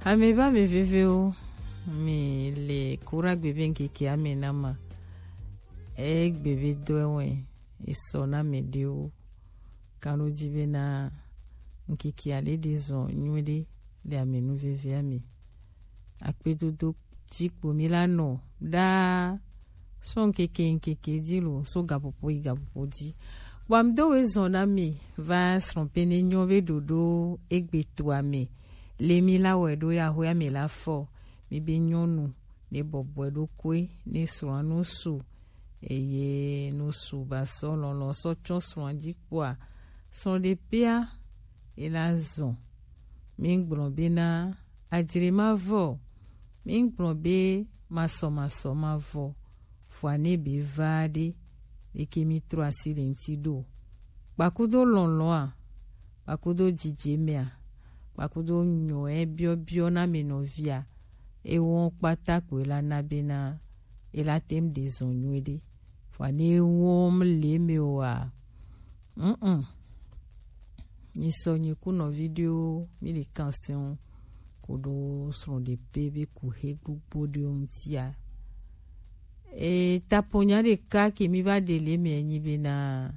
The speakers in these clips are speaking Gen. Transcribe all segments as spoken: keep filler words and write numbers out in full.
Ame va ame vevewo, mi le kura gbe be ŋkeke ame na ma. Egbe be dɔ ewɔe, esɔ na ame ɖewo. Kan ɖo ji be na ŋkeke ale ɖe zɔn nyuie ɖe le ame nu veve ame. Akpedodo ji kpo mi la nɔ ɖaa sɔn ŋkeke ŋkeke ji lo, so gaƒoƒo yi gaƒoƒo ji. Bɔ mi do we zɔn na mi va srɔ̃ pe ne nyɔ be ɖoɖo egbe to ame. Le mi la wɛ ɖo ya ho ya mi la fɔ. Mi be nyɔnu ne bɔbɔe ɖo koe ne srɔ̃a no su. Eye no su ba sɔ lɔlɔ sɔ tsɔ srɔ̃a ji kpoa. Srɔ̃ ɖe pea, e la zɔn. Mi gblɔ be na ajre ma vɔ. Mi gblɔ be masɔ masɔ ma vɔ. Fua ne be va ɖe, eke mi trɔ asi le ŋti ɖo. Kpakudo lɔlɔa, kpakudo jijemea, kpakudo nyɔɛ biɔbiɔ na me nɔvia, ewɔ kpata ko ela na be na ela tem ɖe zɔn nyuie ɖe. Fua ne wɔm le me o a. Mm-mm. Nyi sɔ nyi ku nɔvi ɖewo mi le kan sɛn koɖo srɔ̃ ɖe pe be ku he gbogbo ɖewo ŋtia. E taponya ɖeka ke mi va ɖe le me nyi be na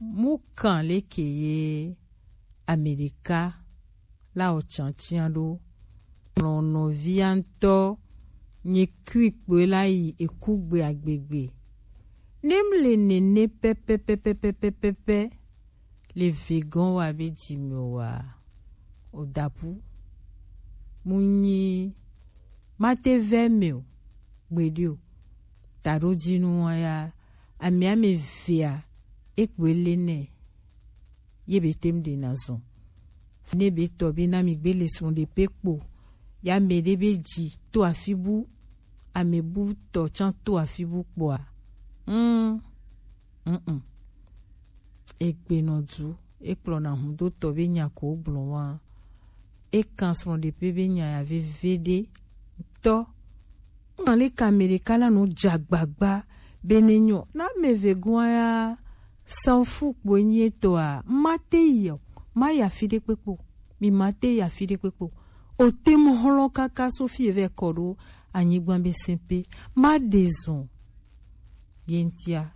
mu kan le ke ye Amerika la o tiatia ɖo. Lɔnɔvia ŋutɔ nye kui kpoe la yi eku gbe agbegbe. Ne mle nene pɛpɛpɛpɛpɛpɛ le vegɔn wa be dzi me wa o dapu. Mu nyi mate vɛ me o gbeɖi o. Taɖo dzinu wa ya ame ame vea ekpoe le nɛ. Ye be tem ɖe na zɔn. Ne be tɔ be na mi gbe le srɔ̃ ɖe pe kpo. Ya me ɖe be dzi to afi bu, ame bu tɔ tsan to afi bu kpoa. Mm. Mm-mm. Egbe nɔ du, ekplɔ na hun do tɔ be nya ko gblɔ wa. Ekan srɔ̃ ɖe pe be nya ya veve ɖe tɔ. Ŋa le ka me ɖeka la no dza gbagba be ne nyɔ. Na me ve gɔn ya Sanfu kpoe nyi etɔa, ma te yi o, ma yi afi ɖe kpekpe o. Mi ma te yi afi ɖe kpekpe o. O te mo hlɔn kaka so fi evɛ kɔ ɖo anyigba be sɛn pe. Ma ɖe zɔn. Ye ŋtia,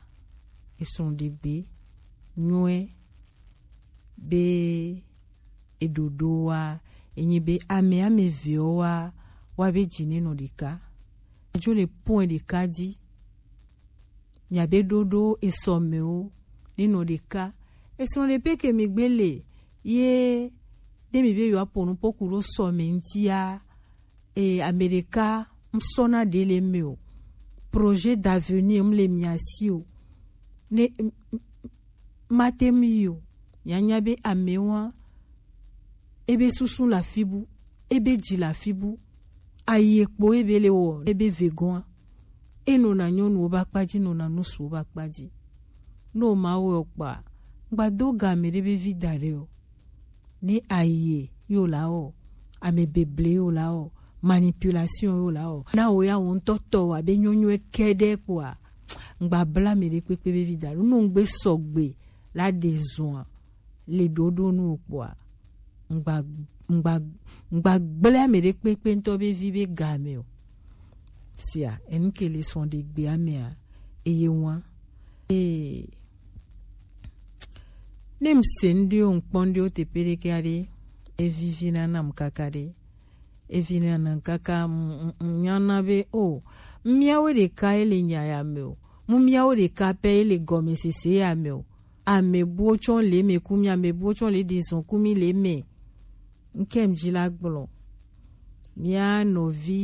esrɔ̃ ɖe gbe nyuie be eɖoɖo wa, enyi be ame ame vewo wa, wa be dzi ne nɔ ɖeka. Edzo le pɔn ɖeka dzi. Miabe ɖoɖo esɔmɛwo nenɔ ɖeka. Esrɔ̃ ɖe pe ke mi gbe le ye ne mi be yewoa po nu po ku ɖo sɔmɛ ŋutia, e, ame ɖeka ŋsɔna ɖe le me o. Projet d'avenir ŋle mia si o. Ne m- m- mate ŋu yi o. Mianya be amewa ebe susu le afi bu, ebe dzi le afi bu, ayi ekpo ebe le wɔ ebe vegɔa. Enɔna nyɔnuwo be akpa dzi, nɔna ŋsuwo be akpa dzi. Ne woma wɔe o kpoa, ŋgba do ga ame ɖe be vi da ɖe o. Ne ayi yo la wɔ, ame beble yo la wɔ, manipulation yo la wɔ. Na wo ya wo ŋutɔ tɔ wa be nyɔnyɔe kɛɖɛ kpoa, ŋgba bla ame ɖe kpekpe be vi da ɖe o. No ŋgbe sɔgbe la ɖe zɔa le ɖoɖo nu o kpoa, ŋgba ŋgba ŋgba gblẽ ame ɖe kpekpe ŋutɔ be vi be game o. Sia enu ke le srɔ̃ ɖe gbea mea, eye wa. Ee, ne ŋse ŋɖewo ŋkpɔ ŋɖewo teƒe ɖeke aɖe, evivi na nam kaka ɖe. Evi na nam kaka m- m- m- nyana be o, miawo ɖeka ye le nya ya me o, mu miawo ɖeka pɛ ye le gɔmesese ya me o. Ame buwo tsɔ le me ku mi, ame buwo tsɔ le ɖe zɔn ku mi le me. Ŋke mi dzi la gblɔ. Mia nɔvi